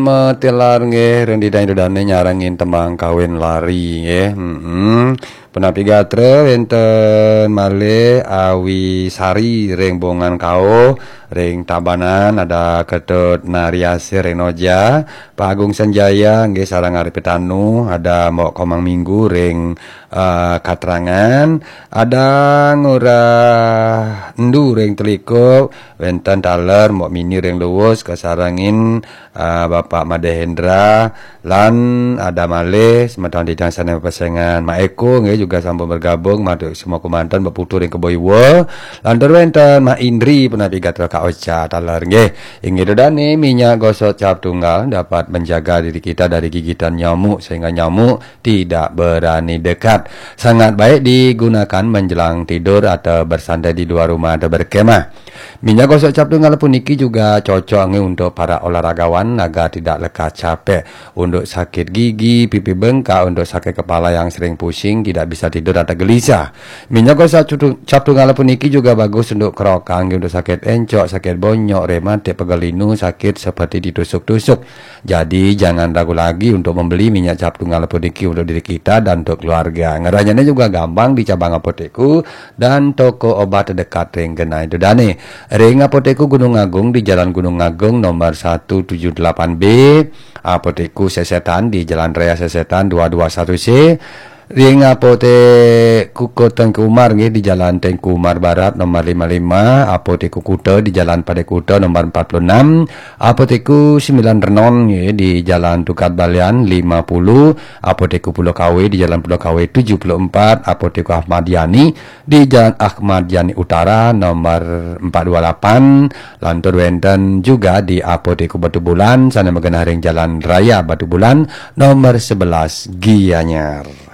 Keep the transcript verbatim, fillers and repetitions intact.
Metelar nggih, ring didang Ida Dane nyarengin tembang kawin lari nggih. Heeh. Punapi gatra wenten malih Awi Sari ring Bongan Kauh, ring Tabanan ada Ketut Nariasih ring Noja, Pak Agung Sanjaya nggih sareng Ari Pitanu, ada Mbok Komang Minggu ring eh, Katrangan, ada Ngurah Endu ring Telikup, wenten taler Mbok Mini ring Luwus, kasarengin eh, Bapak Madeh Hendra, lan ada malih semeton didang sane pesengan. Mak Eko nggih juga sampun bergabung, matur semua kumanten Mbok Putu ring Kebo Iwa, lantur wenten Mak Indri punapi gatra Kak Ocha taler nggih. Inggih Ida Dane, minyak gosok cap tunggal dapat menjaga diri kita dari gigitan nyamuk sehingga nyamuk tidak berani dekat. Sangat baik digunakan menjelang tidur atau bersantai di luar rumah atau berkemah. Minyak gosok cap tunggal puniki juga cocok nggih untuk para olahragawan agar tidak lekas capek, untuk sakit gigi, pipi bengkak, untuk sakit kepala yang sering pusing, tidak bisa tidur atau gelisah. Minyak gosok cap tung-, cap tunggal puniki juga bagus untuk kerokan nggih, untuk sakit encok, sakit bonyok, rematik, pegal linu, sakit seperti ditusuk-tusuk. Jadi, jangan ragu lagi untuk membeli minyak cap tunggal puniki untuk diri kita dan untuk keluarga. Ngeranjane juga gampang di cabang apotekku dan toko obat terdekat ring genah Ida Dane. Ring apotekku Gunung Agung di Jalan Gunung Agung nomor satu tujuh delapan B, apotekku Sesetan di Jalan Raya Sesetan dua dua satu C, ring apotekku Tengku Umar nggih di Jalan Tengku Umar Barat nomor lima lima, apotekku Kuta di Jalan Padai Kuta nomor empat puluh enam, apotekku Sembilan Renon nggih di Jalan Tukad Balian lima puluh, apotekku Pulau Kawe di Jalan Pulau Kawe tujuh puluh empat, apotekku Ahmad Yani di Jalan Ahmad Yani Utara nomor empat dua lapan, lantur wenten juga di apotekku Batubulan sane magenah ring Jalan Raya Batubulan nomor sebelas Gianyar.